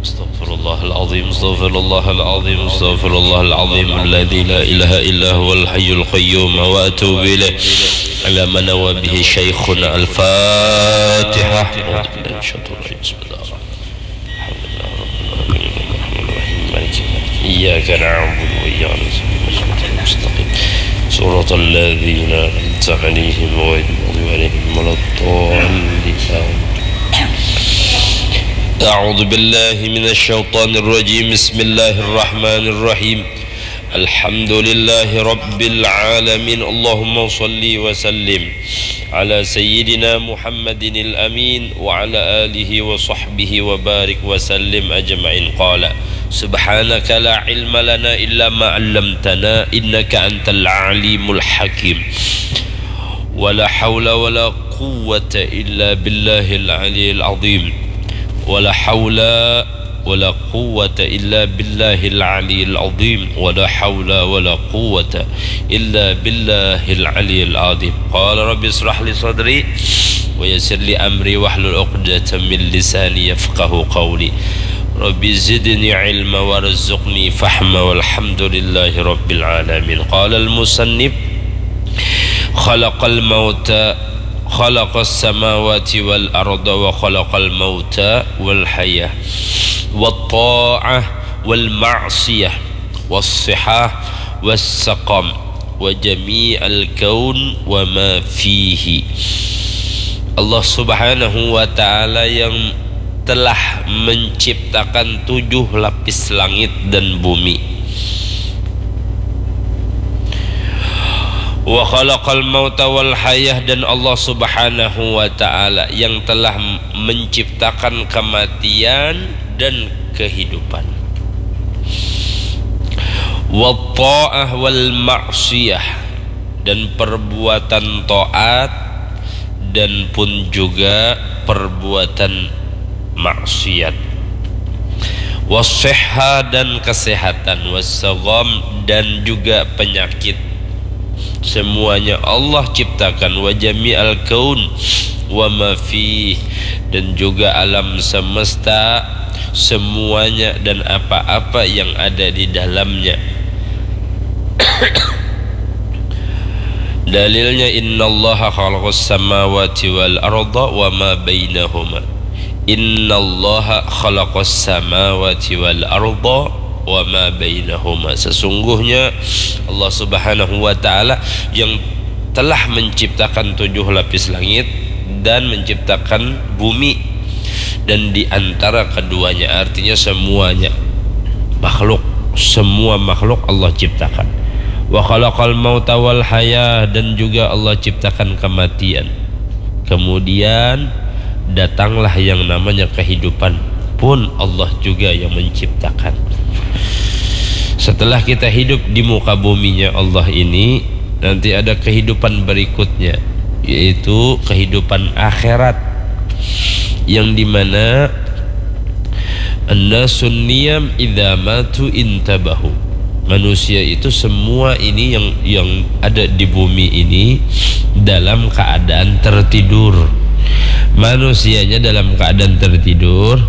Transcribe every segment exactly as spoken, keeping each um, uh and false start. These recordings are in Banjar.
أستغفر الله العظيم، أستغفر الله العظيم، أستغفر الله العظيم الذي لا إله إلا هو الحي القيوم وأتوب إليه. على ما نوى به شيخنا. الفاتحة. أعوذ بالله من الشيطان الرجيم. بسم الله الرحمن الرحيم. الحمد لله رب العالمين. الرحمن الرحيم. مالك يوم الدين. إياك نعبد وإياك نستعين. اهدنا الصراط المستقيم. صراط الذين أنعمت عليهم غير المغضوب عليهم ولا الضالين. آمين. أعوذ بالله من الشيطان الرجيم. بسم الله الرحمن الرحيم. الحمد لله رب العالمين. اللهم صل وسلم على سيدنا محمد الأمين وعلى آله وصحبه وبارك وسلم أجمعين. قال: سبحانك لا علم لنا إلا ما علمتنا إنك أنت العليم الحكيم. ولا حول ولا قوة إلا بالله العلي العظيم. ولا حول ولا قوة إلا بالله العلي العظيم. ولا حول ولا قوة إلا بالله العلي العظيم. قال: رب اشرح لي صدري ويسر لي أمري واحلل عقدة من لساني يفقه قولي. رب زدني علما وارزقني فهما. والحمد لله رب العالمين. قال المصنف: خلق الموت، خلق السماوات والأرض وخلق الموت والحياة والطاعة والمعصية والصحة والسقم وجميع الكون وما فيه. Allah Subhanahu wa Ta'ala yang telah menciptakan tujuh lapis langit dan bumi. Wa khalaqal mauta wal hayah, dan Allah Subhanahu wa Ta'ala yang telah menciptakan kematian dan kehidupan. Wa ta'ah wal ma'siyah, dan perbuatan taat dan pun juga perbuatan maksiat. Wasihha, dan kesehatan, wasagam, dan juga penyakit. Semuanya Allah ciptakan, wa jami'al kaun wa ma fih, dan juga alam semesta, semuanya dan apa-apa yang ada di dalamnya. Dalilnya, innallaha khalaqas samawati wal arda wa ma bainahuma. Innallaha khalaqas samawati wal arda wa ma bainahuma. Sesungguhnya Allah Subhanahu wa Ta'ala yang telah menciptakan tujuh lapis langit dan menciptakan bumi, dan di antara keduanya, artinya semuanya makhluk, semua makhluk Allah ciptakan. Wa khalaqal mauta wal hayah, dan juga Allah ciptakan kematian. Kemudian datanglah yang namanya kehidupan, pun Allah juga yang menciptakan. Setelah kita hidup di muka buminya Allah ini, nanti ada kehidupan berikutnya, yaitu kehidupan akhirat, yang dimana annasun niyam idza matu intabahu. Manusia itu semua ini yang yang ada di bumi ini dalam keadaan tertidur. Manusianya dalam keadaan tertidur.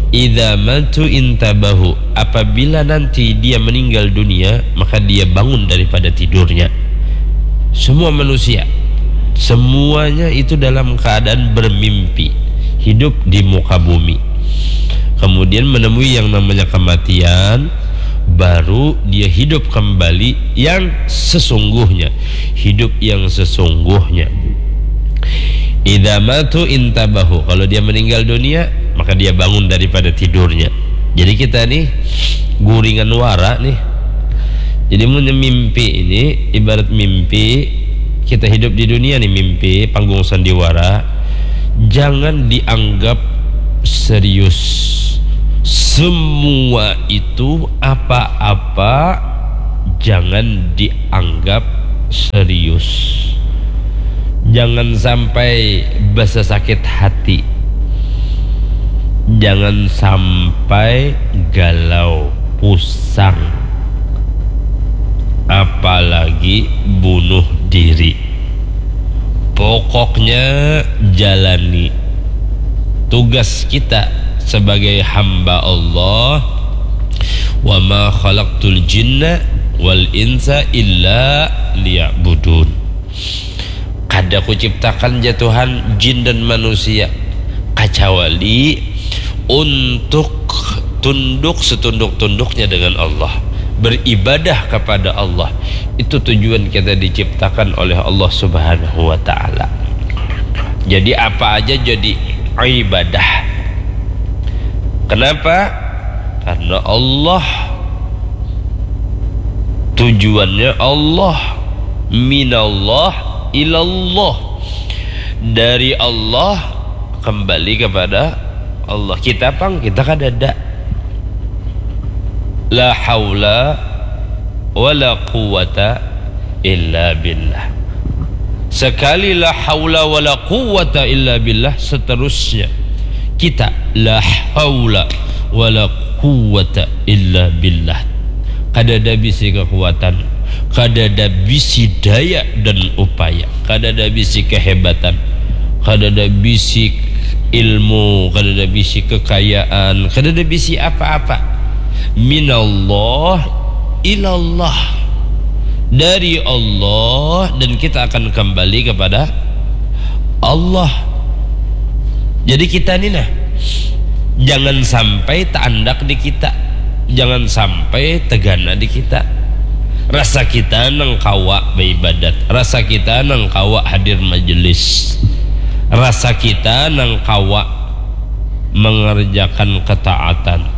Idza matu intabahu. Apabila nanti dia meninggal dunia, maka dia bangun daripada tidurnya. Semua manusia, semuanya itu dalam keadaan bermimpi, hidup di muka bumi. Kemudian menemui yang namanya kematian, baru dia hidup kembali yang sesungguhnya, hidup yang sesungguhnya. Idza matu intabahu, kalau dia meninggal dunia, maka dia bangun daripada tidurnya. Jadi kita nih guringan wara nih. Jadi mun mimpi ini ibarat mimpi, kita hidup di dunia nih, mimpi panggung sandiwara, jangan dianggap serius. Semua itu, apa-apa, jangan dianggap serius. Jangan sampai basa sakit hati. Jangan sampai galau, pusang, apalagi bunuh diri. Pokoknya jalani tugas kita sebagai hamba Allah, "Wa ma khalaqtul jinna wal insa illa liya'budun." Kada kuciptakan ja Tuhan jin dan manusia, kacawali untuk tunduk setunduk-tunduknya dengan Allah, beribadah kepada Allah. Itu tujuan kita diciptakan oleh Allah Subhanahu wa Ta'ala. Jadi, apa aja jadi ibadah. Kenapa? Karena Allah. Tujuannya Allah. Minallah ilallah. Dari Allah kembali kepada Allah. Kita pang, kita kadada. La haula wala quwwata illa billah. Sekali la haula wala quwwata illa billah, seterusnya kita la haula wala quwwata illa billah. Kadada bisi kekuatan, kadada bisi daya dan upaya, kadada bisi kehebatan, kadada bisi ilmu, kadada bisi kekayaan, kadada bisi apa-apa. Minallah ilallah. Dari Allah, dan kita akan kembali kepada Allah. Jadi kita ni nah, jangan sampai taandak di kita, jangan sampai tegana di kita. Rasa kita nang kawa baibadat, rasa kita nang kawa hadir majelis, rasa kita nang kawa mengerjakan ketaatan,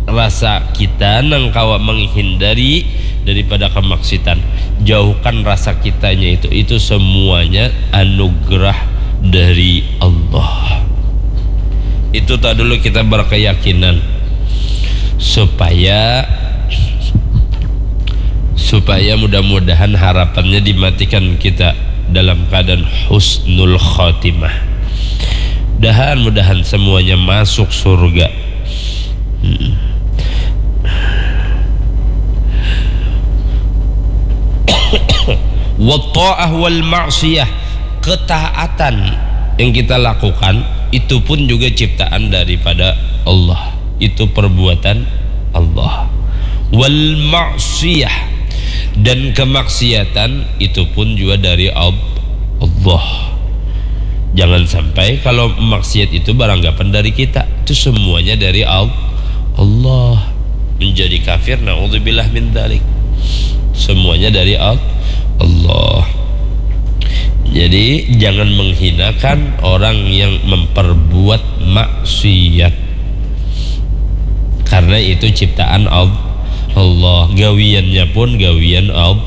rasa kita nang kawa menghindari daripada kemaksiatan. Jauhkan rasa kitanya itu. Itu semuanya anugerah dari Allah. Itu tak dulu kita berkeyakinan supaya supaya mudah-mudahan harapannya dimatikan kita dalam keadaan husnul khatimah. Mudahan-mudahan semuanya masuk surga. Hmm. Wa ta'ah wal ma'siyah, ketaatan yang kita lakukan itu pun juga ciptaan daripada Allah. Itu perbuatan Allah. Wal ma'siyah, dan kemaksiatan itu pun juga dari Al-, Allah. Jangan sampai kalau maksiat itu beranggapan dari kita. Itu semuanya dari Al-, Allah. Menjadi kafir, naudzubillah min dzalik. Semuanya dari Al-, Allah. Jadi, jangan menghinakan orang yang memperbuat maksiat. Karena itu ciptaan Al-, Allah. Gawiannya pun gawian Al-,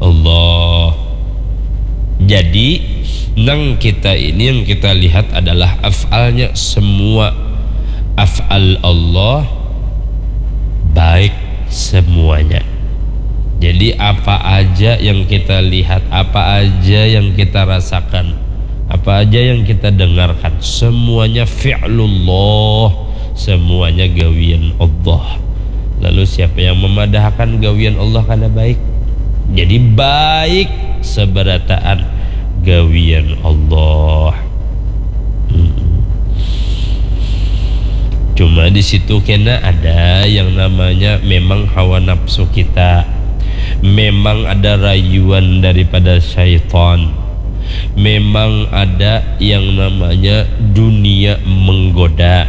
Allah. Jadi, nang kita ini, yang kita lihat adalah af'alnya. Semua af'al Allah baik semuanya. Jadi, apa aja yang kita lihat, apa aja yang kita rasakan, apa aja yang kita dengarkan, semuanya fi'lullah, semuanya gawian Allah. Lalu, siapa yang memadahakan gawian Allah kada baik? Jadi, baik seberataan gawian Allah. Hmm. Cuma di situ kena ada yang namanya memang hawa nafsu kita. Memang ada rayuan daripada syaitan. Memang ada yang namanya dunia menggoda.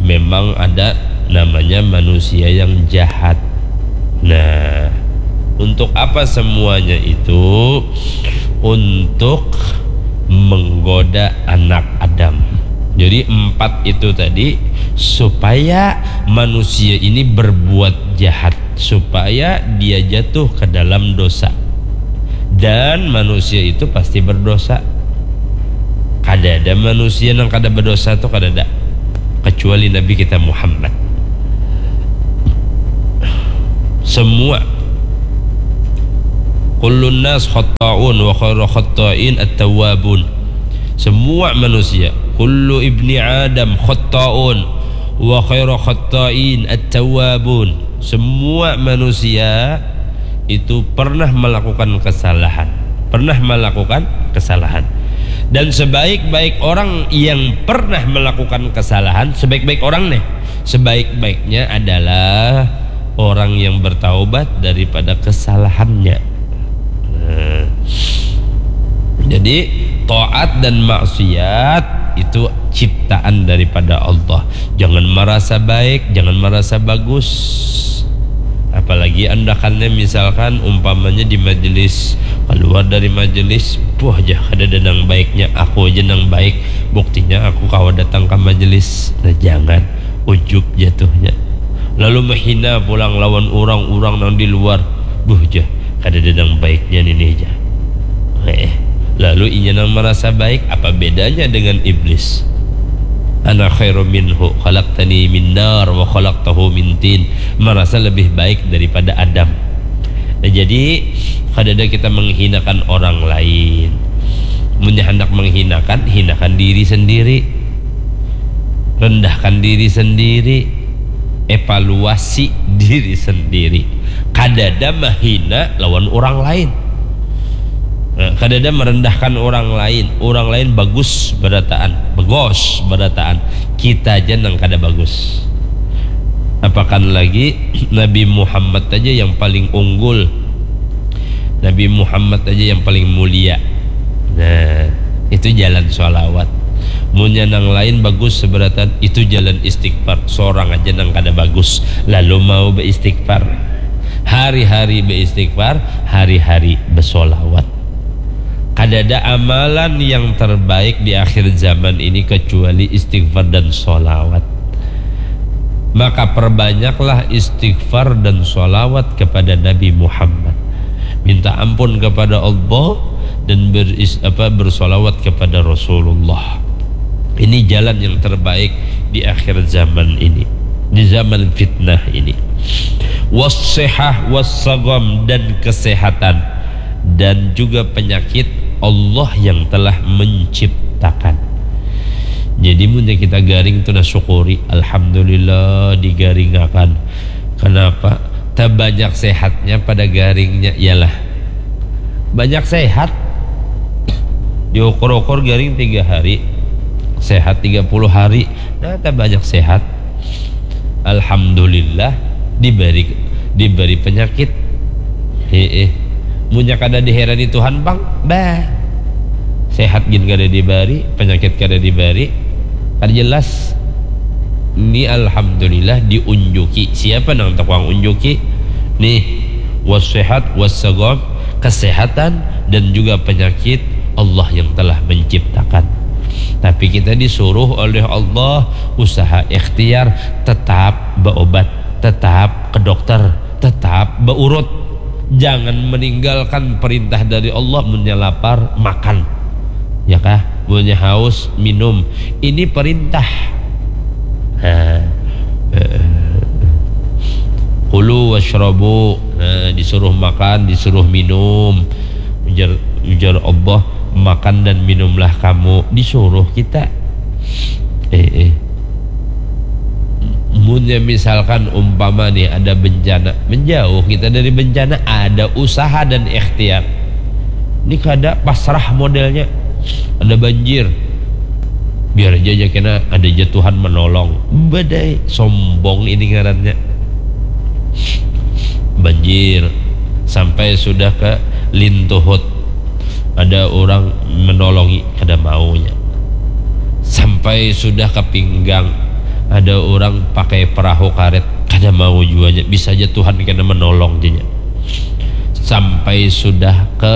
Memang ada namanya manusia yang jahat. Nah, untuk apa semuanya itu? Untuk menggoda anak Adam. Jadi, empat itu tadi supaya manusia ini berbuat jahat, supaya dia jatuh ke dalam dosa. Dan manusia itu pasti berdosa. Kada ada manusia nang kada berdosa tuh, kada ada. Kecuali Nabi kita Muhammad. Semua. Kullun nas khatta'un wa khairu khatta'in at-tawwabun. Semua manusia. Kullu ibni Adam khatta'un wa khairu khatta'in at-tawwabun. Semua manusia itu pernah melakukan kesalahan. Pernah melakukan kesalahan. Dan sebaik-baik orang yang pernah melakukan kesalahan, sebaik-baik orang nih, sebaik-baiknya adalah orang yang bertaubat daripada kesalahannya. Nah, jadi taat dan maksiat itu ciptaan daripada Allah. Jangan merasa baik, jangan merasa bagus. Apalagi andakannya misalkan umpamanya di majelis, keluar dari majelis, buah jah, kada ada nang baiknya, aku aja nang baik, buktinya aku kawa datang ke majelis. Nah, jangan, ujub jatuhnya. Lalu menghina pulang lawan orang-orang nang di luar, buah jah, kada ada nang baiknya nini ja. Eh, lalu inya nang merasa baik, apa bedanya dengan iblis? Ana khairu minhu khalaqtani min nar wa khalaqtahu min tin. Merasa lebih baik daripada Adam. Nah, jadi kada ada kita menghinakan orang lain. Munnya hendak menghinakan, hinakan diri sendiri. Rendahkan diri sendiri. Evaluasi diri sendiri. Kada ada mahina lawan orang lain. Nah, kada ada merendahkan orang lain. Orang lain bagus berataan, bagus berataan. Kita aja nang kada bagus. Apakan lagi Nabi Muhammad aja yang paling unggul. Nabi Muhammad aja yang paling mulia. Nah, itu jalan sholawat. Munnya nang lain bagus seberatan, itu jalan istighfar. Seorang aja nang kada bagus, lalu mau beristighfar. Hari-hari beristighfar, hari-hari bersolawat. Kada ada amalan yang terbaik di akhir zaman ini kecuali istighfar dan solawat. Maka perbanyaklah istighfar dan solawat kepada Nabi Muhammad. Minta ampun kepada Allah dan beris, apa, bersolawat kepada Rasulullah. Ini jalan yang terbaik di akhir zaman ini, di zaman fitnah ini. Wassihah wassagam, dan kesehatan dan juga penyakit Allah yang telah menciptakan. Jadi munnya kita garing tu nah syukuri, alhamdulillah digaringakan. Kenapa? Tabanyak sehatnya pada garingnya ialah banyak sehat. Diukur-ukur garing tiga hari, sehat tiga puluh hari. Nah, tabanyak sehat. Alhamdulillah diberi diberi penyakit. Heeh. Munnya kada diherani Tuhan pang, bah. Sehat gin kada dibari, penyakit kada dibari. Kada jelas. Ni alhamdulillah diunjuki. Siapa nang tukang unjuki? Nih, wassehat wassagom, kesehatan dan juga penyakit Allah yang telah menciptakan. Tapi kita disuruh oleh Allah usaha ikhtiar, tetap berobat, tetap ke dokter, tetap beurut. Jangan meninggalkan perintah dari Allah, munnya lapar, makan. Ya kah? Munnya haus, minum. Ini perintah. Nah, eh, kulu wasyrabu. Nah, disuruh makan, disuruh minum. Ujar, ujar Allah, makan dan minumlah kamu. Disuruh kita. Eh, eh. Munnya misalkan umpama nih ada bencana, menjauh kita dari bencana, ada usaha dan ikhtiar. Ini kada pasrah modelnya. Ada banjir. Biar aja, aja kena, ada aja Tuhan menolong. Badai, sombong ini ngarannya. Banjir sampai sudah ke Lintuhut. Ada orang menolongi, kada maunya. Sampai sudah ke pinggang, ada orang pakai perahu karet, kada mau juanya. Bisa aja Tuhan kena menolong janya. Sampai sudah ke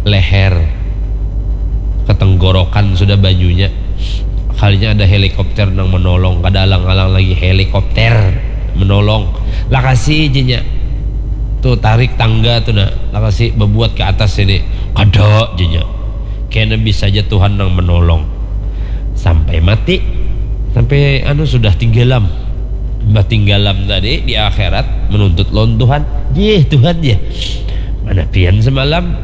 leher, ke tenggorokan sudah banyunya. Kalinya ada helikopter nang menolong, kada alang-alang lagi helikopter menolong. Lakasi janya. Tuh, tarik tangga tuh, nah. Lakasi bebuat ke atas ini. Kada janya. Kena bisa aja Tuhan nang menolong. Sampai mati. Sampai anu sudah tinggalam. Bah tinggalam tadi di akhirat menuntut lawan Tuhan. Jih, Tuhan ya. Mana pian semalam?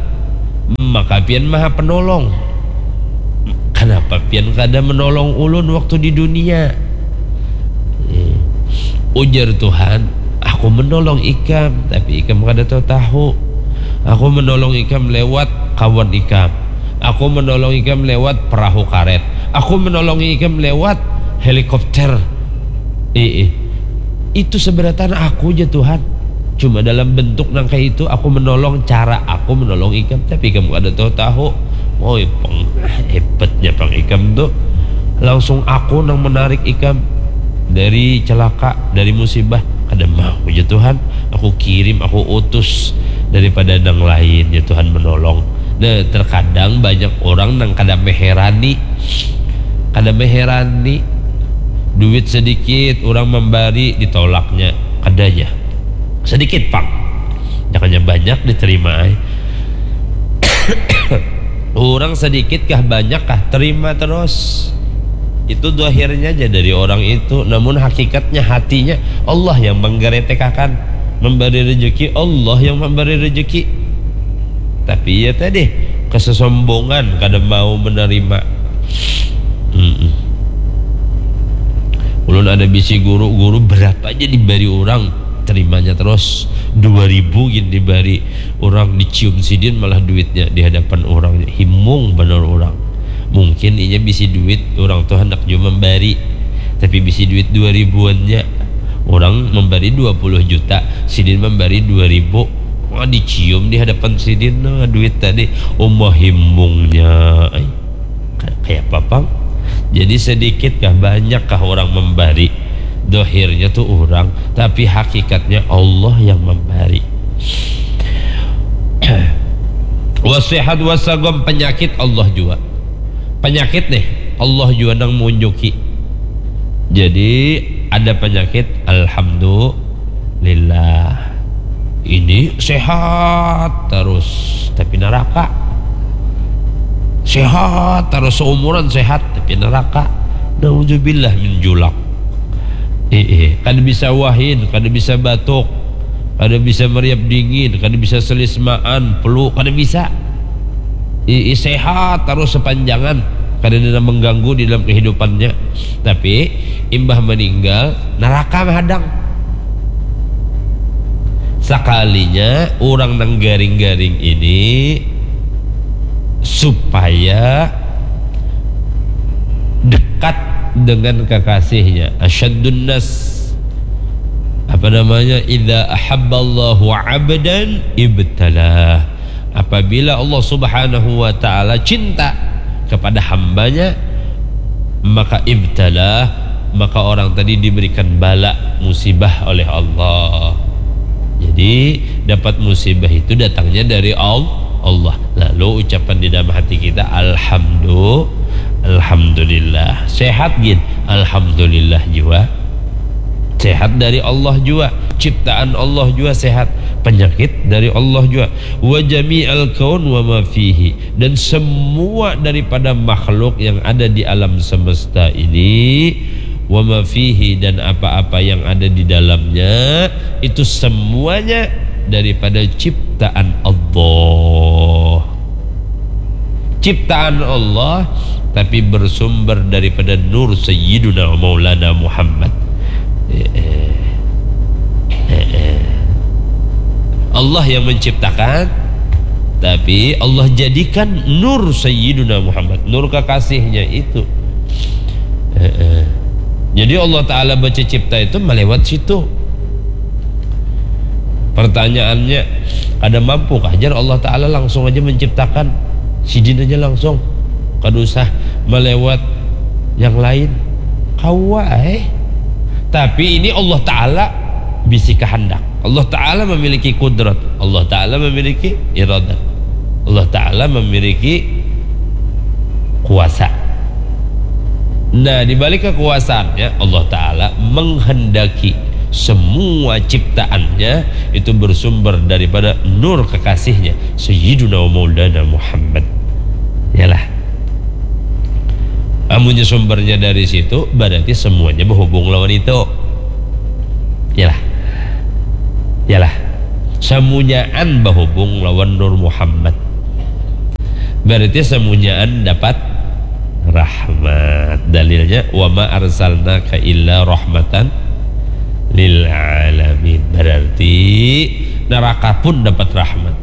Maka pian maha penolong. Kenapa pian kada menolong ulun waktu di dunia? Eh, ujar Tuhan, aku menolong ikam, tapi ikam kada tahu tahu. Aku menolong ikam lewat kawan ikam. Aku menolong ikam lewat perahu karet. Aku menolong ikam lewat helikopter. Ii. Itu seberatan aku ja, Tuhan. Cuma dalam bentuk nang kayak itu, aku menolong, cara aku menolong ikam. Tapi ikam kada tahu-tahu. Woi, pang, hebatnya pang ikam tuh. Langsung aku nang menarik ikam dari celaka, dari musibah. Kada mau ja, Tuhan. Aku kirim, aku utus daripada nang lain ya, Tuhan menolong. Nah, terkadang banyak orang nang kada meherani. Kada meherani. Duit sedikit, orang membari, ditolaknya. Kada ja. Sedikit pang. Jangannya banyak diterima ai. Orang sedikit kah, banyak kah, terima terus. Itu dohirnya aja dari orang itu. Namun hakikatnya, hatinya, Allah yang menggeretekakan. Memberi rezeki, Allah yang memberi rezeki. Tapi ya tadi, kesesombongan, kada mau menerima. Mm-mm. Ulun ada bisi guru, guru berapa aja diberi orang, terimanya terus. Dua ribu gin diberi orang, dicium sidin malah duitnya di hadapan orang. Himung benar orang. Mungkin inya bisi duit, orang tuh hendak juga memberi. Tapi bisi duit dua ribuannya. Orang memberi dua puluh juta, sidin memberi dua ribu. Wah, dicium di hadapan sidin, nah, duit tadi. Uma himungnya. Ai. Ka-, kayak apa, pang? Jadi sedikit kah, banyak kah orang memberi? Dohirnya tuh orang, tapi hakikatnya Allah yang memberi. Wasehat wasagom, penyakit Allah juga. Penyakit nih, Allah juga nang mengunjuki. Jadi ada penyakit, alhamdulillah. Ini sehat terus, tapi neraka. Sehat terus, seumuran sehat, tapi neraka. Nauzubillah min julak. Eh, eh, kada bisa wahin, kada bisa batuk, kada bisa meriap dingin, kada bisa selismaan, flu, kada bisa. Eh, eh, sehat terus sepanjangan, kada ada mengganggu di dalam kehidupannya. Tapi imbah meninggal, neraka menghadang. Sakalinya orang nang garing-garing ini supaya dekat dengan kekasihnya. Asyaddun nas, apa namanya, idza ahabballahu abdan ibtalah. Apabila Allah Subhanahu wa Ta'ala cinta kepada hambanya, maka ibtalah, maka orang tadi diberikan bala, musibah oleh Allah. Jadi dapat musibah itu datangnya dari Al-, Allah. Lalu ucapan di dalam hati kita, alhamdu-, alhamdulillah. Sehat gin, alhamdulillah jua. Sehat dari Allah jua. Ciptaan Allah jua sehat. Penyakit dari Allah jua. Wa jami'al kaun wa ma fihi. Dan semua daripada makhluk yang ada di alam semesta ini, wa ma fihi, dan apa-apa yang ada di dalamnya, itu semuanya daripada ciptaan Allah. Ciptaan Allah, tapi bersumber daripada nur Sayyiduna Maulana Muhammad. Eh, eh. Eh, eh. Allah yang menciptakan, tapi Allah jadikan nur Sayyiduna Muhammad, nur kekasihnya itu. Eh, eh. Jadi Allah Ta'ala baca cipta itu melewat situ. Pertanyaannya, kada mampu kah jar Allah Ta'ala langsung aja menciptakan? Sidin aja langsung. Kada usah melewat yang lain. Kawa, eh. Tapi ini Allah Ta'ala bisi kehendak. Allah Ta'ala memiliki kudrat. Allah Ta'ala memiliki iradat. Allah Ta'ala memiliki kuasa. Nah, di balik kekuasaannya, Allah Ta'ala menghendaki semua ciptaannya itu bersumber daripada nur kekasihnya, Sayyiduna wa Maulana Muhammad. Yalah. Amunnya sumbernya dari situ, berarti semuanya berhubung lawan itu. Yalah. Yalah. Semunyaan berhubung lawan Nur Muhammad. Berarti semunyaan dapat rahmat. Dalilnya, wa ma arsalnaka illa rahmatan lil alamin. Berarti neraka pun dapat rahmat.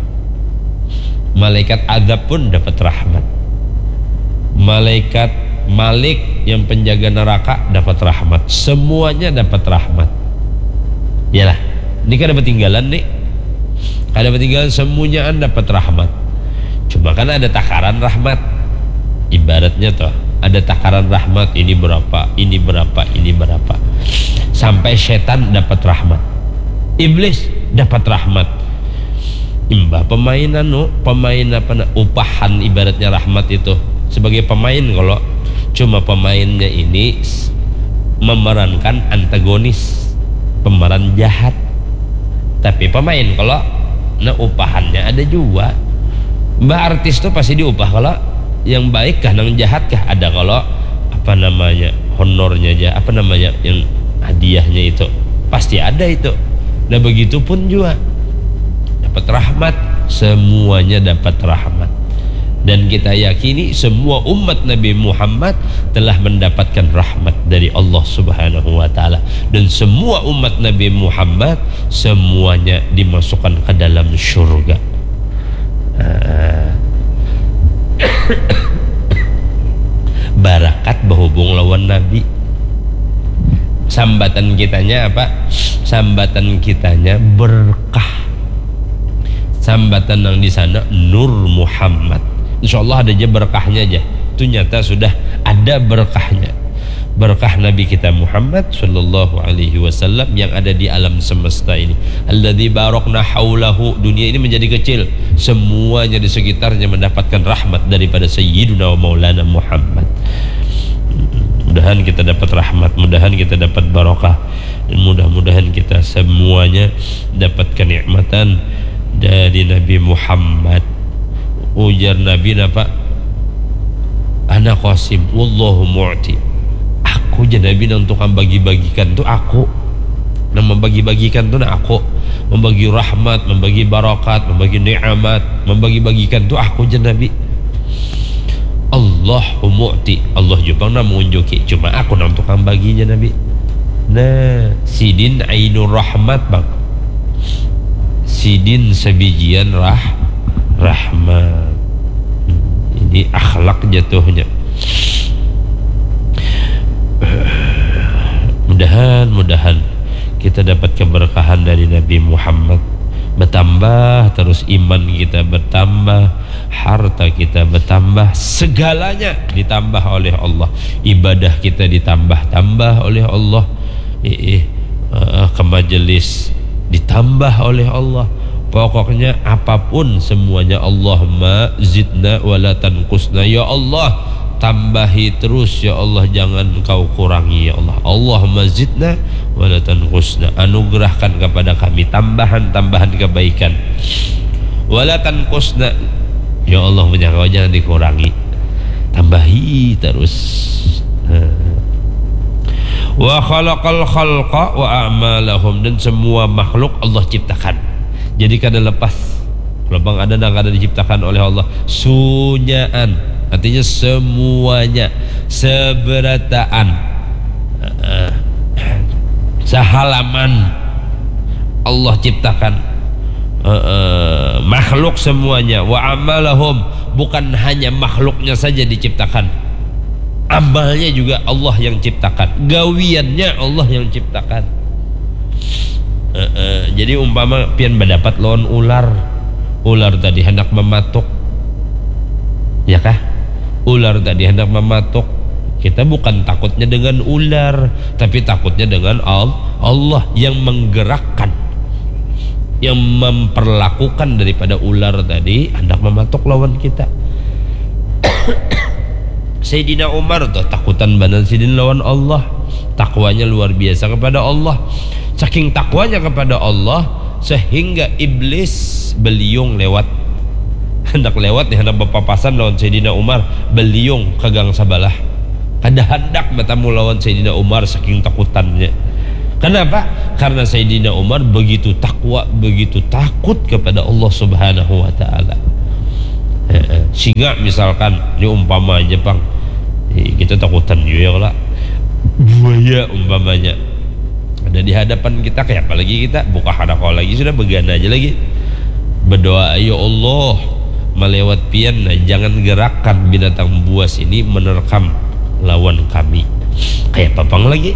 Malaikat azab pun dapat rahmat. Malaikat Malik yang penjaga neraka dapat rahmat. Semuanya dapat rahmat. Yalah, ini kada ketinggalan nih. Kada ketinggalan, semuanya dapat rahmat. Cuma kan ada takaran rahmat. Ibaratnya tuh, ada takaran rahmat, ini berapa, ini berapa, ini berapa. Sampai setan dapat rahmat. Iblis dapat rahmat. Imbah pemain anu, pemain apa na, upahan ibaratnya rahmat itu. Sebagai pemain kalau cuma pemainnya ini s-, memerankan antagonis, pemeran jahat. Tapi pemain kalau na upahannya ada juga. Mbah artis tuh pasti diupah kalau yang baik kah, nang jahat kah, ada kalau apa namanya, honornya aja, apa namanya, yang hadiahnya itu pasti ada itu. Nah, begitu pun juga dapat rahmat, semuanya dapat rahmat. Dan kita yakini semua umat Nabi Muhammad telah mendapatkan rahmat dari Allah Subhanahu wa Ta'ala. Dan semua umat Nabi Muhammad semuanya dimasukkan ke dalam surga. Ah. Barakat bahubung lawan Nabi. Sambatan kitanya apa? Sambatan kitanya berkah. Sambatan yang di sana Nur Muhammad. Insya Allah ada aja berkahnya aja. Itu nyata sudah ada berkahnya. Berkah Nabi kita Muhammad sallallahu alaihi wasallam yang ada di alam semesta ini. Alladzi barakna haulahu. Dunia ini menjadi kecil. Semuanya di sekitarnya mendapatkan rahmat daripada Sayyiduna wa Maulana Muhammad. Mudahan kita dapat rahmat, mudahan kita dapat barokah, dan mudah-mudahan kita semuanya dapat kenikmatan dari Nabi Muhammad. Ujar Nabi napa? Ana qasim, wallahu mu'ti. Aku, jar Nabi, nang tukang bagi-bagikan tu aku. Nang membagi-bagikan tu nah aku. Membagi rahmat, membagi barakat, membagi nikmat, membagi-bagikan tu aku, jar Nabi. Allahu mu'ti, Allah jua pang nang mengunjuki, cuma aku nang tukang bagi, jar Nabi. Nah, sidin ainur rahmat, bang. Sidin sabijian rah-, rahmat. Ini akhlak jatuhnya. Mudahan, mudahan kita dapat keberkahan dari Nabi Muhammad. Bertambah terus iman kita, bertambah harta kita, bertambah segalanya ditambah oleh Allah. Ibadah kita ditambah-tambah oleh Allah. Iih, eh, ke majelis ditambah oleh Allah. Pokoknya apapun semuanya, Allahumma zidna wala tanqusna. Ya Allah, tambahi terus, ya Allah, jangan Kau kurangi, ya Allah. Allahumma zidna wala tanqusna. Anugerahkan kepada kami tambahan-tambahan kebaikan. Wala tanqusna. Ya Allah, punya Kau jangan dikurangi. Tambahi terus. Nah. Wa khalaqal khalqa wa a'malahum, dan semua makhluk Allah ciptakan. Jadi kada lepas. Kalau pang ada nang kada diciptakan oleh Allah, sunyaan. Artinya semuanya, seberataan. Heeh. Sehalaman Allah ciptakan. Heeh. Makhluk semuanya. Wa amalahum, bukan hanya makhluknya saja diciptakan. Amalnya juga Allah yang ciptakan. Gawiannya Allah yang ciptakan. Heeh. Jadi umpama pian badapat lawan ular. Ular tadi hendak mematuk. Ya kah? Ular tadi hendak mematuk. Kita bukan takutnya dengan ular, tapi takutnya dengan Al-, Allah yang menggerakkan, yang memperlakukan daripada ular tadi hendak mematuk lawan kita. Sayyidina Umar tuh takutan banar sidin lawan Allah. Takwanya luar biasa kepada Allah. Saking takwanya kepada Allah, sehingga iblis beliung lewat. Hendak lewat nih, hendak berpapasan lawan Sayyidina Umar, beliung ke gang sabalah. Kada hendak bertemu lawan Sayyidina Umar saking takutannya. Kenapa? Karena Sayyidina Umar begitu takwa, begitu takut kepada Allah Subhanahu wa Ta'ala. Heeh. Singa misalkan, ini umpama aja pang. Eh, kita takutan juga ya, kalau buaya umpamanya. Ada di hadapan kita, kayak apa lagi kita? Buka hadako lagi, sudah begana aja lagi. Berdoa, "Ya Allah, malewat pian, nah, jangan gerakan binatang buas ini menerkam lawan kami. Kayak papang lagi.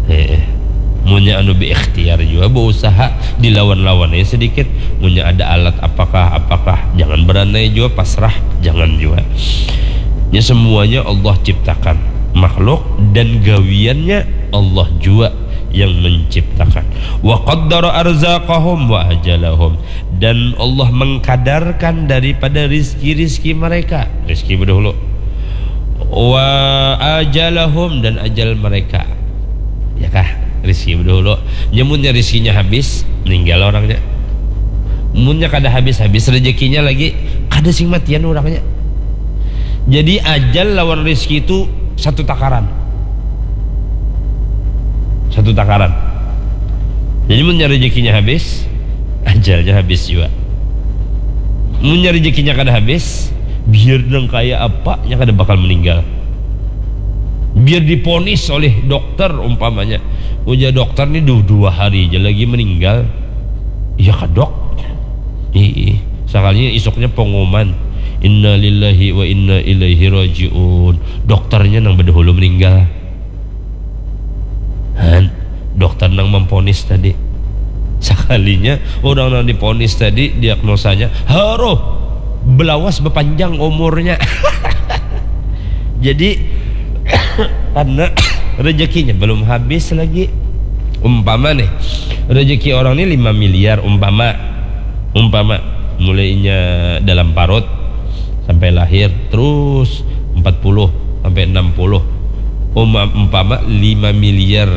Eh, munnya anu berikhtiar juga berusaha dilawan-lawan aja sedikit. Munnya ada alat apakah apakah, jangan beranai juga pasrah, jangan juga. Ya, semuanya Allah ciptakan makhluk dan gawiannya Allah juga yang menciptakan. Wa qaddara arzaqahum wa ajalahum, dan Allah mengkadarkan daripada rizki-rizki mereka, rizki berdahulu, wa ajalahum, dan ajal mereka. Ya kah? Rizki berdahulu. Nyamunnya rizkinya habis, meninggal orangnya. Munnya kada habis-habis rezekinya lagi, kada sing matian orangnya. Jadi ajal lawan rizki itu satu takaran. Satu takaran. Jadi munnya rezekinya habis, ajalnya habis juga. Munnya rezekinya kada habis, biar nang kaya apa, nya kada bakal meninggal. Biar diponis oleh dokter umpamanya, ujar dokter ni du- dua hari aja lagi meninggal. Iya kah, Dok? Ih, sakalinya isuknya pengumuman, innalillahi wa inna ilaihi rajiun. Dokternya nang bedahulu meninggal. Han, dokter nang memponis tadi. Sakalinya orang nang diponis tadi, diagnosanya, haruh, belawas bepanjang umurnya. Jadi karena rezekinya belum habis lagi. Umpama nih, rezeki orang ini lima miliar umpama. Umpama mulainya dalam parut sampai lahir, terus empat puluh sampai enam puluh. Uma- umpama lima miliar,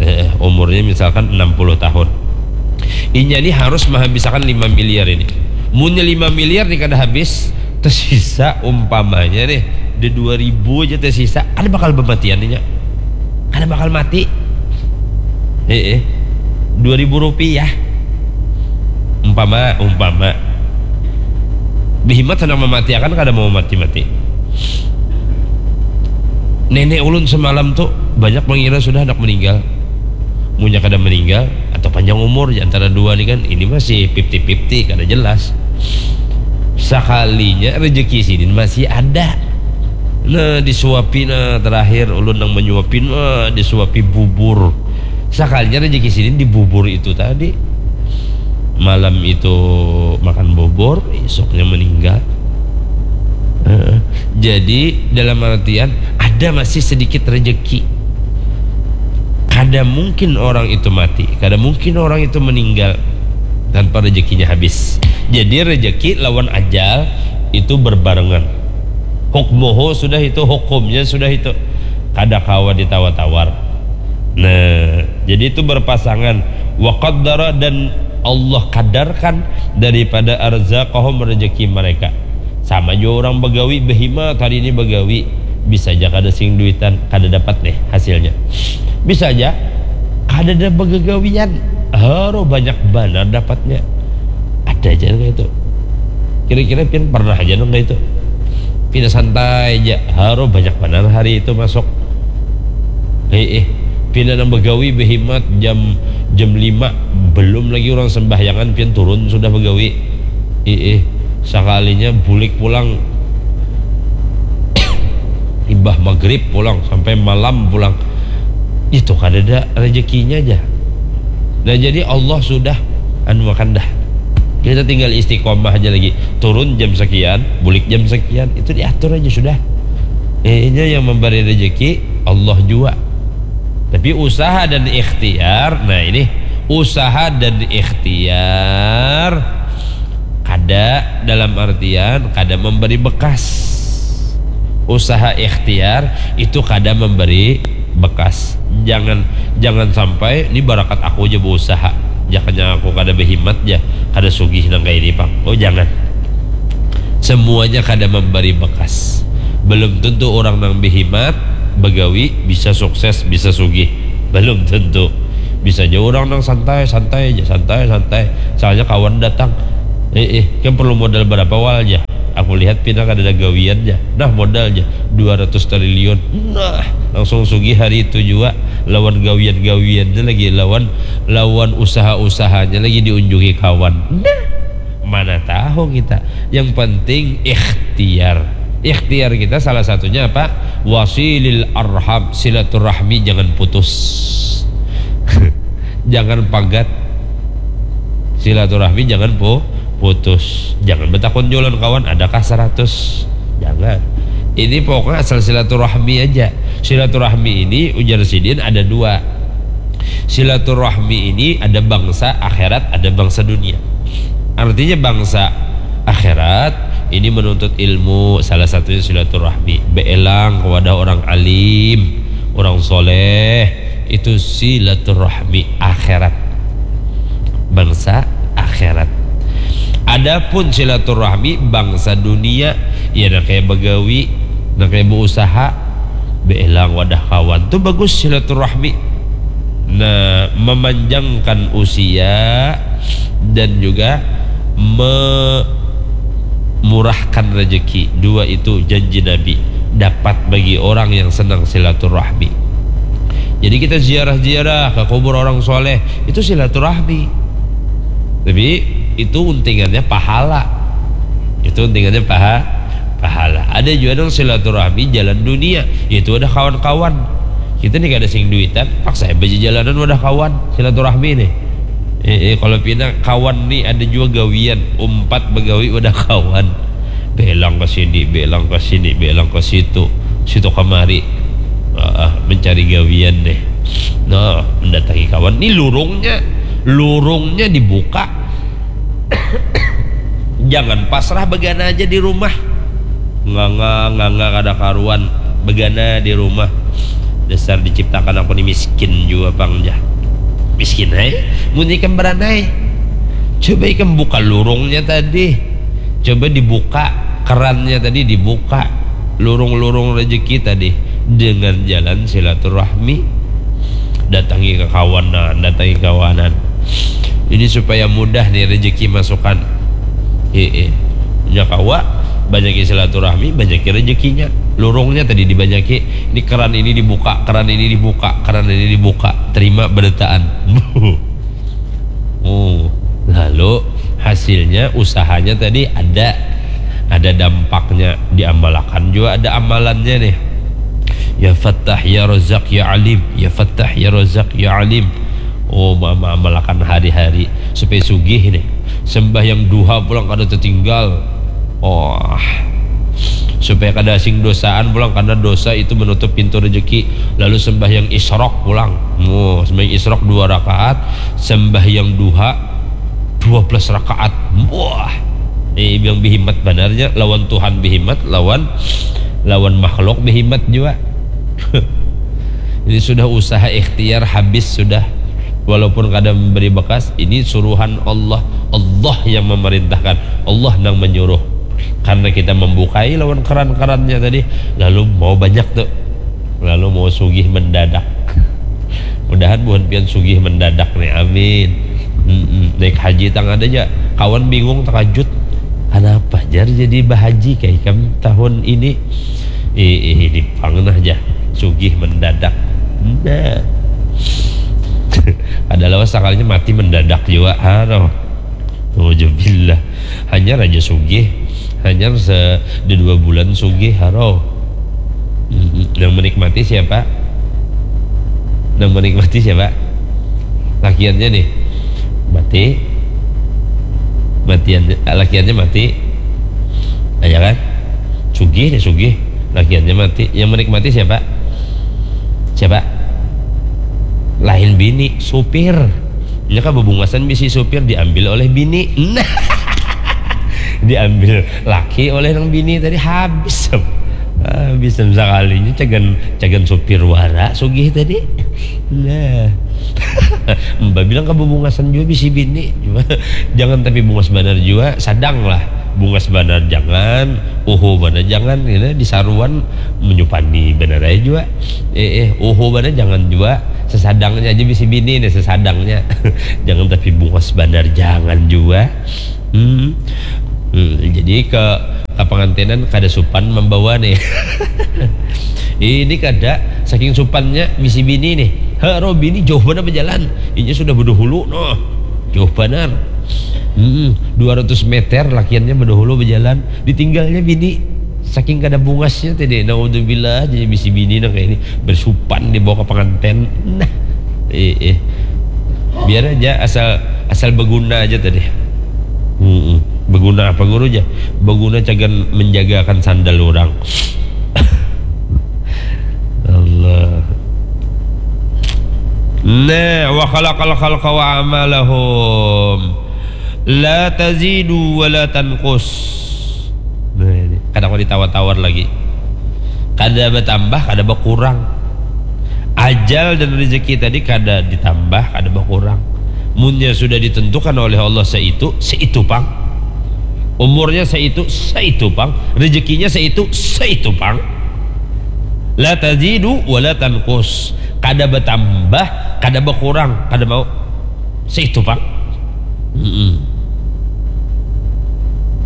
eh, umurnya misalkan enam puluh tahun. Inya ini harus menghabiskan lima miliar ini. Munnya lima miliar nih kada habis, tersisa umpamanya nih, di dua ribu aja tersisa, kada bakal bematian inya. Kada bakal mati. Eh, eh. Dua ribu rupiah. Umpama, umpama. Behimat hendak mematiakan, kada mau mati-mati. Nenek ulun semalam tuh banyak mengira sudah hendak meninggal. Munnya kada meninggal atau panjang umur, di antara dua nih kan, ini masih fifty fifty, kada jelas. Sakalinya rezeki sidin masih ada. Nah, disuapi, nah, terakhir ulun nang menyuapi, nah, disuapi bubur. Sakalinya rezeki sidin di bubur itu tadi. Malam itu makan bubur, esoknya meninggal. Heeh. Jadi dalam artian ada masih sedikit rezeki. Kada mungkin orang itu mati, kada mungkin orang itu meninggal tanpa rezekinya habis. Jadi rezeki lawan ajal itu berbarengan. Hukmuhu sudah itu, hukumnya sudah itu. Kada kawa ditawar-tawar. Nah, jadi itu berpasangan. Wa qaddara, dan Allah kadarkan daripada arzaqahum, rezeki mereka. Sama jua orang bagawi, behimat hari ini bagawi, bisa aja kada sing duitan, kada dapat nih hasilnya. Bisa aja kada ada bagagawian, haruh banyak banar dapatnya. Ada aja kayak itu. Kira-kira pian pernah aja nang kayak itu? Pina santai aja, haruh banyak banar hari itu masuk. Heeh. Pina nang bagawi behimat jam jam lima, belum lagi orang sembahyangan pian turun sudah bagawi. Heeh. Sakalinya bulik pulang imbah maghrib pulang sampai malam pulang. Itu kadada rezekinya aja. Nah, jadi Allah sudah anu akan dah. Kita tinggal istiqomah aja lagi. Turun jam sekian, bulik jam sekian, itu diatur aja sudah. Eh, ini yang memberi rezeki Allah jua. Tapi usaha dan ikhtiar, nah ini usaha dan ikhtiar kada dalam artian kada memberi bekas. Usaha ikhtiar itu kada memberi bekas. Jangan jangan sampai ini barakat aku aja berusaha. Jakanya aku kada behimat ja, kada sugih nang kayak ini pang. Oh, jangan. Semuanya kada memberi bekas. Belum tentu orang nang behimat, begawi, bisa sukses, bisa sugih. Belum tentu. Bisa aja orang nang santai, santai aja, santai, santai. Soalnya kawan datang. Eh, eh, kan perlu modal berapa wal aja? Aku lihat pina kada ada gawian aja. Nah, modal aja dua ratus triliun. Nah, langsung sugih hari itu juga lawan gawian-gawiannya lagi, lawan lawan usaha-usahanya lagi diunjungi kawan. Nah, Mana tahu kita. Yang penting ikhtiar. Ikhtiar kita salah satunya apa? Wasilil arham, silaturahmi jangan putus. Jangan pagat. Silaturahmi jangan pu putus. Jangan betakun jualan kawan, adakah seratus? Jangan. Ini pokoknya asal silaturahmi aja. Silaturahmi ini ujar sidin ada dua. Silaturahmi ini ada bangsa akhirat, ada bangsa dunia. Artinya bangsa akhirat ini menuntut ilmu, salah satunya silaturahmi. Beelang kepada orang alim, orang soleh, itu silaturahmi akhirat. Bangsa akhirat. Adapun silaturahmi bangsa dunia, ya nak kayak begawi, nak kayak berusaha, beelang wadah kawan. Tu bagus silaturahmi. Nah, memanjangkan usia dan juga memurahkan rezeki. Dua itu janji Nabi dapat bagi orang yang senang silaturahmi. Jadi kita ziarah-ziarah ke kubur orang soleh, itu silaturahmi. Tapi itu untingannya pahala. Itu untingannya paha pahala. Ada juga nang silaturahmi jalan dunia, yaitu ada kawan-kawan. Kita nih kada sing duitan, paksa aja bejalanan wadah kawan, silaturahmi nih. Eh, eh, kalau pina kawan nih ada juga gawian, umpat begawi wadah kawan. Belang ke sini, belang ke sini, belang ke situ, situ kemari. Ah, mencari gawian deh. Nah, mendatangi kawan. Nih lurungnya, lurungnya dibuka. Jangan pasrah begana aja di rumah. Nganga, nganga kada karuan. Begana di rumah. Dasar diciptakan aku ni miskin jua pang, jar. Miskin ai. Mun ikam beranai, coba ikam buka lurungnya tadi. Coba dibuka kerannya tadi, dibuka lurung-lurung rezeki tadi dengan jalan silaturahmi. Datangi kekawanan, datangi kawanan. Ini supaya mudah nih rezeki masukan. Heeh. Nya kawa, banyaki silaturahmi, banyaki rezekinya. Lurungnya tadi dibanyaki. Ini keran ini dibuka, keran ini dibuka, keran ini dibuka. Terima berataan. Oh, lalu hasilnya usahanya tadi ada, ada dampaknya, diamalakan juga ada amalannya nih. Ya Fattah, ya Razak, ya Alim, ya Fattah, ya Razak, ya Alim. Oh, ma- ma- amalakan hari-hari supaya sugih nih. Sembahyang duha pulang kada tertinggal. Oh, supaya kada sing dosaan pulang, karena dosa itu menutup pintu rezeki. Lalu sembahyang isrok pulang. Oh, sembahyang isrok dua rakaat, sembahyang duha dua belas rakaat. Wah. Ini bilang bihimat banarnya, lawan Tuhan bihimat, lawan lawan makhluk bihimat juga. Ini sudah usaha ikhtiar habis sudah. Walaupun kada memberi bekas, ini suruhan Allah. Allah yang memerintahkan. Allah nang menyuruh. Karena kita membukai lawan keran-kerannya tadi, lalu mau banyak tuh. Lalu mau sugih mendadak. Mudahan buhan pian sugih mendadak nih. Amin. Mm-mm. Naik haji tang ada aja. Kawan bingung, terkejut. Kenapa jar jadi bahaji kayak ikam tahun ini? Ih, ih, ini pang nah aja. Sugih mendadak. Nah. Ada lawas sekalinya mati mendadak juga. Aduh. Nauzubillah. Hanyar aja sugih. Hanyar se di dua bulan sugih, haro. Mm, yang menikmati siapa? Yang menikmati siapa? Lakiannya nih. Mati. Matian, lakiannya mati. Nah, ya kan? Sugih nih, sugih. Lakiannya mati. Yang menikmati siapa? Siapa? Lain bini, supir. Nya kan bebungasan bisi supir diambil oleh bini. Nah. Diambil laki oleh nang bini tadi, habis. Habis sekalinya cagan cagan supir wara sugih tadi. Nah. Mbak bilang ke bebungasan juga bisi bini. Cuma jangan tapi bungas banar juga, sadang lah. Bungas banar jangan, uhu banar jangan, gitu. Disaruan menyupani banar aja juga. Eh, eh, uhu banar jangan juga, sesadangnya aja bisi bini nih, sesadangnya. Jangan tapi bungas banar jangan juga. Hmm. Hmm, jadi ke ke pengantinan kada supan membawa nih. Ini kada, saking supannya bisi bini nih. Haro bini jauh banar berjalan. Inya sudah berdahulu noh. Jauh banar. Mm-mm. Dua ratus meter lakiannya badahulu bajalan, ditinggalnya bini. Saking kada bungasnya tadi, naudzubillah, jadi bisi bini nang kayak ini bersupan dibawa ke pengantin. Nah, eh, eh. Biar aja asal asal berguna aja tadi. Mm-mm. Berguna apa guru aja? Berguna cagan menjagakan sandal orang. Allah. Nah, wa khalaqal khalqa wa amalahum. La tazidu wa la tanqus. Nah, ini. Kada mau ditawar-tawar lagi. Kada bertambah, kada berkurang. Ajal dan rezeki tadi kada ditambah, kada berkurang. Munnya sudah ditentukan oleh Allah seitu, seitu pang. Umurnya seitu, seitu pang. Rezekinya seitu, seitu pang. La tazidu wa la tanqus. Kada bertambah, kada berkurang, kada mau. Seitu pang. Mm-mm.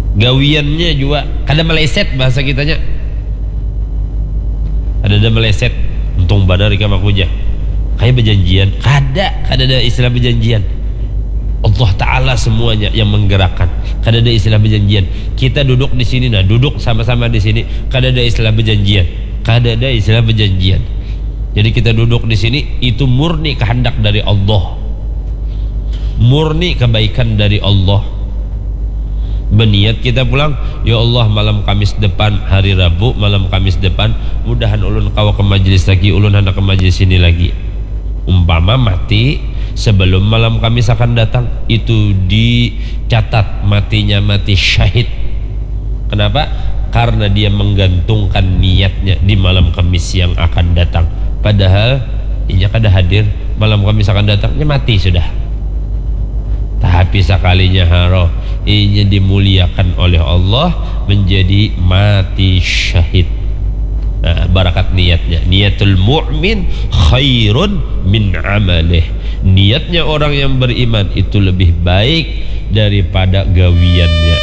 Gawiannya juga kada meleset bahasa kitanya. Ada ada meleset. Untung banar ikam aku aja. Kayak berjanjian. Kada, kada ada istilah berjanjian. Allah Ta'ala semuanya yang menggerakkan. Kada ada istilah berjanjian. Kita duduk di sini, nah, duduk sama-sama di sini. Kada ada istilah berjanjian. Kada ada istilah berjanjian. Jadi kita duduk di sini, itu murni kehendak dari Allah. Murni kebaikan dari Allah. Berniat kita pulang, ya Allah, malam Kamis depan, hari Rabu, malam Kamis depan, mudahan ulun kawa ke majelis lagi, ulun hendak ke majelis ini lagi. Umpama mati sebelum malam Kamis akan datang, itu dicatat matinya mati syahid. Kenapa? Karena dia menggantungkan niatnya di malam Kamis yang akan datang. Padahal inya kada hadir, malam Kamis akan datang, inya mati sudah. Tapi sakalinya haro, inya dimuliakan oleh Allah menjadi mati syahid. Nah, barakat niatnya. Niatul mu'min khairun min amalih. Niatnya orang yang beriman itu lebih baik daripada gawiannya.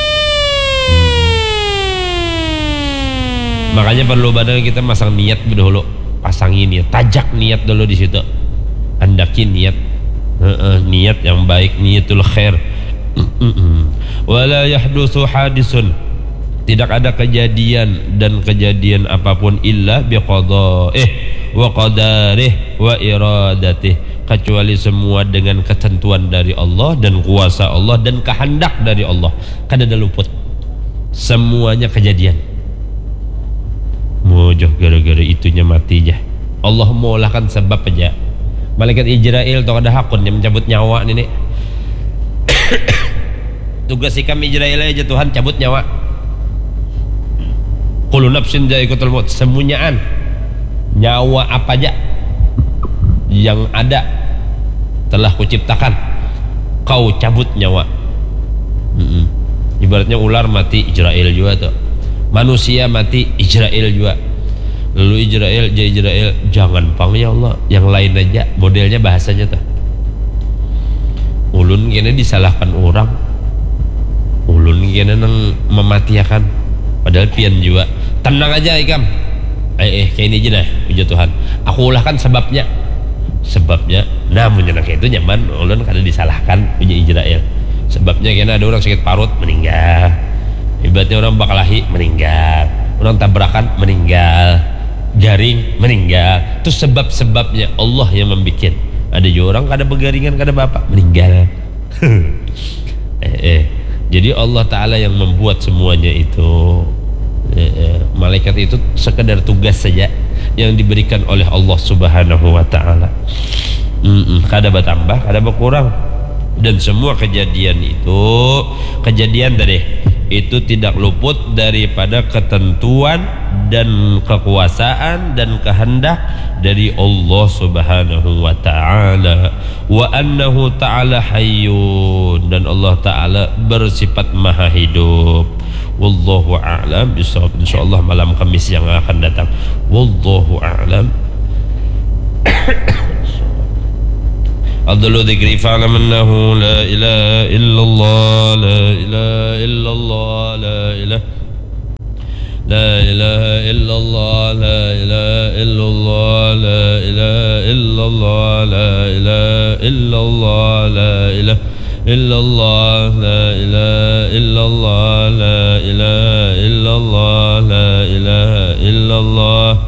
Makanya perlu banar kita masang niat dahulu. Pasangi niat, tajak niat dulu di situ. Andaki niat. Heeh, niat yang baik, niatul khair. Wala yahdusu hadisun. Tidak ada kejadian dan kejadian apapun illa biqada, eh, wa qadarih wa iradatih, kecuali semua dengan ketentuan dari Allah dan kuasa Allah dan kehendak dari Allah. Kada ada luput. Semuanya kejadian. Mojoh gara-gara itunya mati jah. Allah mengolahkan sebab aja. Malaikat Israel tu kada hakun yang mencabut nyawa nini. Tugas ikam Israel aja Tuhan cabut nyawa. Kullu nafsin dzaiqatul maut. Semunyaan nyawa apa aja yang ada telah kuciptakan, kau cabut nyawa. Mm-mm. Ibaratnya ular mati, Israel juga tuh. Manusia mati, Israel juga. Lalu Israel, ja Israel, jangan pang ya Allah, yang lain aja. Modelnya bahasanya tuh. Ulun kena disalahkan orang. Ulun kena nang mematiakan. Padahal pian juga. Tenang aja ikam. Eh, eh, kayak ini aja nah, ujar Tuhan. Aku ulahkan sebabnya. Sebabnya, nah, munnya nang itu nyaman, ulun kada disalahkan, ujar Israel. Sebabnya kena ada orang sakit parut, meninggal. Ibaratnya orang bakalahi, meninggal. Orang tabrakan, meninggal. Garing, meninggal. Itu sebab-sebabnya Allah yang membuat. Ada juga orang kada begaringan, kada apa-apa, meninggal. Eh, eh. Jadi Allah Ta'ala yang membuat semuanya itu. Eh, eh. Malaikat itu sekedar tugas saja yang diberikan oleh Allah Subhanahu wa Ta'ala. Mm-mm. Kada bertambah, kada berkurang. Dan semua kejadian itu, kejadian tadi, itu tidak luput daripada ketentuan dan kekuasaan dan kehendak dari Allah Subhanahu wa Ta'ala. Wa annahu ta'ala hayyun, dan Allah Ta'ala bersifat maha hidup. Wallahu a'lam bishawab. Insyaallah malam Kamis yang akan datang. Wallahu a'lam. Afdalu dzikri fa'lam annahu la ilaha illallah, la ilaha illallah, la ilaha La ilaha illallah, la ilaha illallah, la ilaha illallah, la ilaha illallah, la ilaha إلا الله لا إله إلا الله لا إله إلا الله لا إله إلا الله